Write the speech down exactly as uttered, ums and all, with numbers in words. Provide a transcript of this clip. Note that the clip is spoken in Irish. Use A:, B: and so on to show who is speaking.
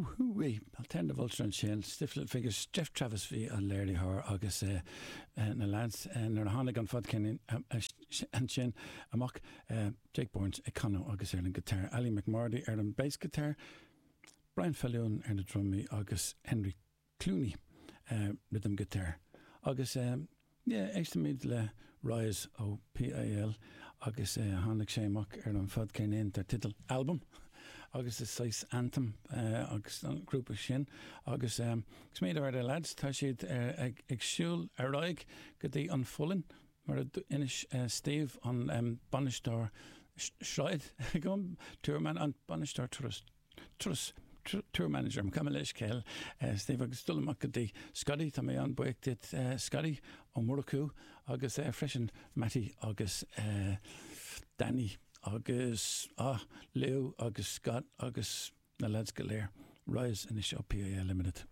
A: Whoo-wee, Alternative Ulster ansin, Stiff Little Fingers, Geoff Travis bhí an léiritheoir agus na lads nuair a tháinig an fadcheirnín ansin amach, Jake Burns ag canadh agus ar an guitar, Ali McMordie ar an bass guitar, Brian Fallon ar na drumaí agus Henry Cluney rhythm guitar. Agus yeah, éistimid le Rise ó PIL agus tháinig sé amach ar an fadcheirnín dar teideal Album agus is saghas anthem agus an grúpa sin agus smaoineamh ar na lads, tá siad ag ag siúl ar aghaidh go dtí an Pholainn mar a d'inis Steve an bainisteoir sráid tour man an bainisteoir turas turas tour manager gabh mo leithscéal Steve agus dul amach go dtí Scotty tá mé an-bhuíoch duit Scotty Ó Murchú agus freisin Matty agus Danny agus ah Lou agus Scott agus na lads go léir Rise anois ó PIL Limited.